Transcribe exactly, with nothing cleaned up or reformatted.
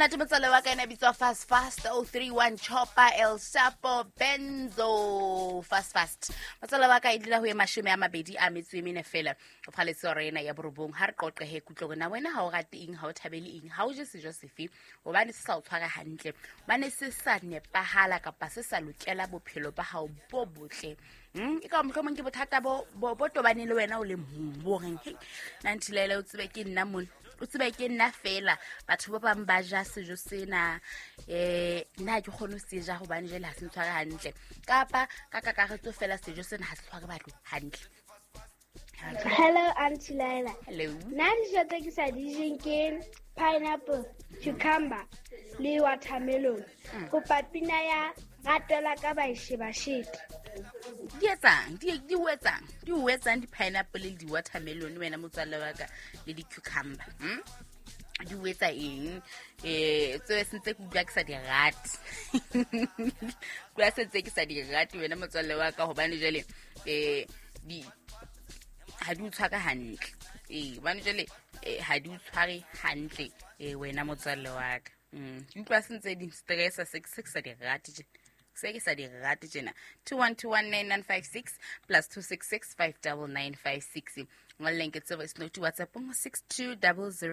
Monate motswalle wa ka ena bitswa Fast Fast oh three one Chopper El Shapo Benzo Fast Fast. Motswalle wa ka e dula ho ye mashome a mabedi a metso e mene fela o phaletse hora ena ya borobong. Ha re qoqe he kutlwe hore na wena ha o rate eng, ha o thabele eng, ha o je sejo sefe hobane se sa o tshwara hantle, hobane se sa nepahala kapa se sa lokela bophelo ba hao bo botle. Mm, e ka mohlomong ke bothata bo bo bo tobaneng le wena o le mong bo reng hei nna Nthilaela o tsebe ke nna mona, o tsebe ke nna fela, batho ba bang ba ja sejo sena, eh nna ha ke kgone ho se ja hobane jwale ha se ntshware hantle, kapa ka kakaretso fela sejo sena ha se tshware batho hantle. Hello Auntie Laila. Hello. Nna dijo tse ke sa di jeng ke pineapple, cucumber le watermelon. Kopa pina ya ratela ka ba shebashete. Di etsang? Di, di o etsang? Di o etsang di-pineapple le di-watermelon wena motswalle wa ka le di-cucumber? Hmm? Di o etsa eng? Eh, tseo se ntse ke utlwa ke sa di rate. Utlwa se ntse ke sa di rate wena motswalle wa ka hobane jwale, eh, di, ha di o tshware hantle. Eh, hobane jwale, eh, ha di o tshware hantle, eh, wena motswalle wa ka. Mm, ke utlwa se ntse di stressa, se ke sa di rate tjena. Se ke sa di rate tjena. two one two one nine nine five six plus two six six five double nine five six. Ngolleng ke tsebo, it's not WhatsApp, six two double zero.